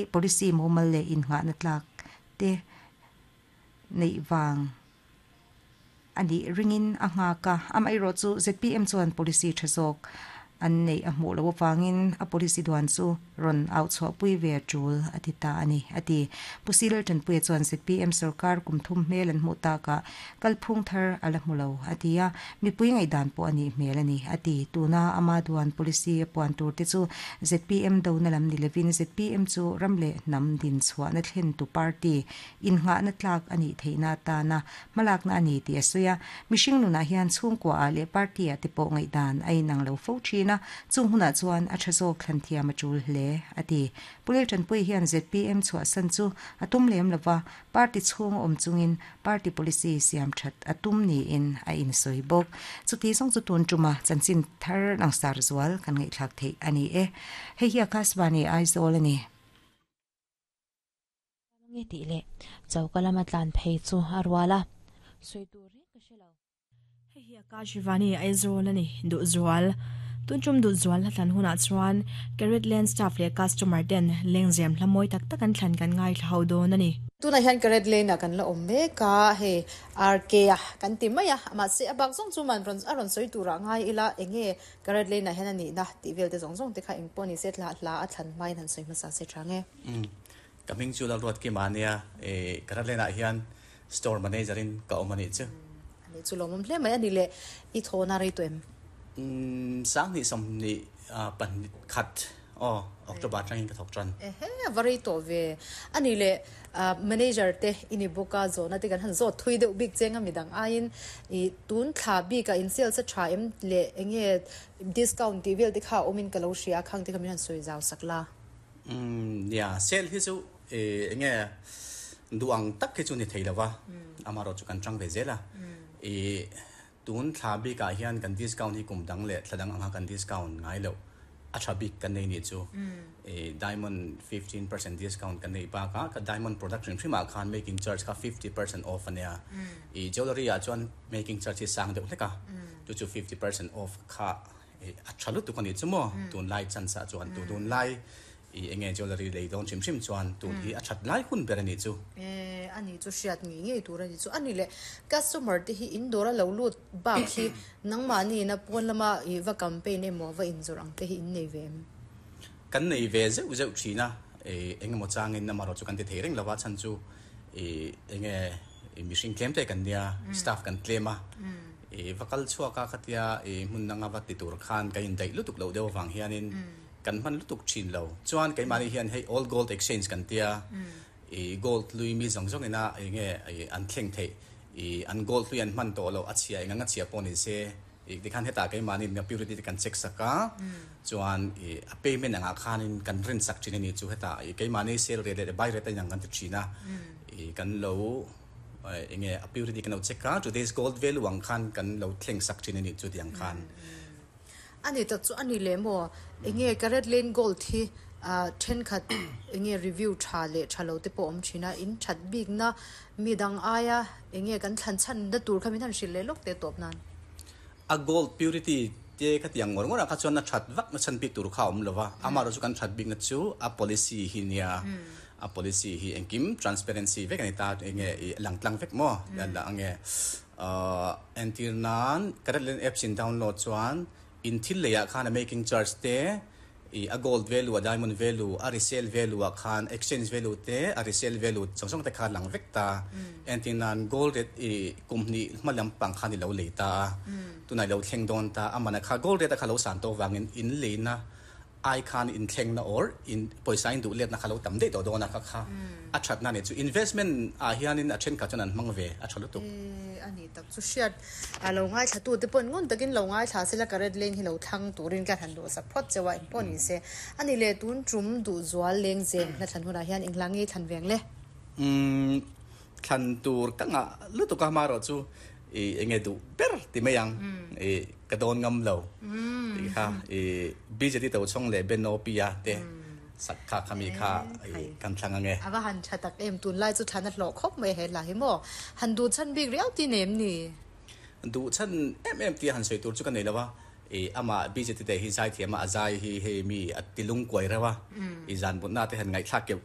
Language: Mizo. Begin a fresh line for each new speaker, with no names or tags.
Policy mumal leh innghahna tlak te neih vang a nih ringin a nghak a. Amaherawh chu zpm chuan policy tha zawk an neih a hmuh loh avangin a policy duan chu rawn auh chhuahpui ve a tul a ti ta a ni, a ti. Pu Silal Tanpuia chuan zpm sorkar kum thum hmel an hmuh takah Kalphung thar a la hmu lo, a ti a. Mipui ngaihdan pawh a nih hmel a ni, a ti. Tuna ama duan policy a puan tur te chu zpm dona lam ni lovin zpm chu ram leh hnam din chhuahna thlentu party innghahna tlak a nih theihna atana hmalakna a ni tih a sawi a. Mihring nunah hian chhungkuaah leh party-ah te pawh ngaihdan a inang lo fo thin a, chung hunah chuan a tha zawk thlan thiam a tul hle, a ti. Pu Leltanpuii hian zpm chhuahsan chu a tum lem lova, Party chhung awm chungin party policy siam that a tum niin a insawi bawk. Chuti zawng chu tun tuma chanchin thar langsar zual kan ngaihthlak theih a ni e. Hei hi Akashvani Aizawl a ni.
Nge tih leh choka lama tlan phei chu a rual a, sawi tur reng ka hre lo.
Hei hi Akashvani Aizawl a ni, Duhzual. Tuntum Duhzual hla thlan hunah chuan Carat Lane staff leh customer ten lengzem hla mawi tak tak an thlan kan ngaithla ho dawn a ni.
Tunah hian Carat Lane ah kan la awm mek a, hei RK a kan ti mai a, mahse a bak zawng chu man rawn a rawn sawi turah ngai ila eng nge Carat Lane ah hian a nihna tih vel te zawng zawng te kha eng pawh ni se hla hla a thlan hmain han sawi hmasa se tha nge.
Ka hming chu Lalruatkima a nia, Carat Lane ah hian Store manager in ka awm a nih chu.
A nih chu lawmawm hle mai a ni le, i thawhna rei tawh em?
Umm 20 24 khat aw October atangin ka thawk tan.
Ehe a va rei tawh ve. A nih le manager te i ni bawk a, zawhna te kan han zawt thui deuh bik cheng a midang aiin i tun thla bikah in sales a tha em le enge discount tih vel te kha a awmin ka lo hria a, khang te kha min han sawi zau sak la.
Umm nia sale hi chu Enge duh ang tak hi chu ni thei lo va, amaherawh chu kan chang ve zel a. I tun thla bikah hian kan discount hi kum dang leh thla dang anga kan discount ngai loh a tha bik kan nei nih chu. I diamond 15% discount kan neih bakah ka diamond product hrim hrimah khan making charge kha 50% off a nia. I jewellery ah chuan making charge hi sang deuh hlek a, chu chu 50% off kha a tha lutuk a nih chu maw tunlai chance ah chuan tunlai I enge jewellery lei dawn hrim hrim chuan tun hi a that lai hun ber a nih chu.
E, a nih chu hriat ngei ngei tur a nih chu. A ni le, customer te hi in dawr a lo lut bak hi nangmahni ina pawn lama i va campaign emaw va inzawrh ang te hi in nei ve em?
Kan nei ve zeuh zeuh thin a, i engemaw changin amaherawh chu kan ti thei reng lo a, chhan chu i enge i mihring tlem te kan nia, staff kan tlem a, i va kal chhuak a khatia i hmun danga va ti tur khan kan indaih lutuk loh deuh avang hianin Kan hman lutuk thin lo. Chuan keimahni hian hei old gold exchange kan tia, i gold hlui mi zawng zawng ina eng nge an thleng theih, i an gold hlui an hman tawh loh a chhia eng anga chhia pawh ni se, i tikhan hetah keimahni in purity te kan check sak a, chuan i a payment angah khanin kan rin sak thin a ni chu hetah i keimahni sale rate leh buy rate a inang kan ti thin a, i kan lo eng nge a purity kan lo check a, today's gold value ang khan kan lo thleng sak thin a ni chu tiang khan.
A ni tak chu a ni leh maw? Enge Carat Lane Gold hi thenkhat enge review tha leh tha lo te pawh awm thin a, in that bikna mi dang aia enge kan thlan chhan na tur kha min han hrilh leh lawk teh tawp nan.
A gold purity te kha tiang ngawr ngawrah kha chuan a that vak na chhan bik tur kha a awm lo va, amaherawh chu kan that bikna chu a policy hi nia, a policy hi engkim transparency vek a ni ta, enge i lang tlang vek maw? Enge Entir nan, Carat Lane apps in download chuan in thil leiah khan a making charge te, i a gold value, a diamond value, a resale value ah khan exchange value te, a resale value zawng zawng te kha a lang vek ta. Entir nan, gold rate i kum hnih hma lampang khan i lo lei ta a, tunah i lo thleng dawn ta, a man ah kha gold rate a kha lo san tawh vangin in leina ai khan inthlengna or in pawisa in duh letna kha lo tam daih tawh dawn a kha kha a thatna nih chu investment ah hianin a thenkhat chuan an hmang ve a tha lutuk.
E a ni tak chu hriat a lo ngaithla tu te pawhin ngun takin lo ngaithla sela Carat Lane hi lo thlang turin ka han duhsak phawt cheu a engpawh ni se a ni le tun tum duhzual lengzem hla thlan hunah hian engla nge thlan veng le?
Umm thlan tur ka ngah lutuk a hmarawh chu i enge duh ber ti mai ang i ka dawn ngam lo tih kha i BJD Tochhawng leh Ben Opia te sak kha khami kha i kan thlang ange.
A va han tha tak em tunlai chu thlan a hlawh khawp mai he hla hi maw han duh chhan bik riau ti nem ni?
Duh chhan em em tia han sawi tur chu ka nei lo a. I ama BJT te hi zai thiam a, a zai hi hei mi a tilung kuai reuh a, i zan mutna te han ngaihthlak keuh keuh.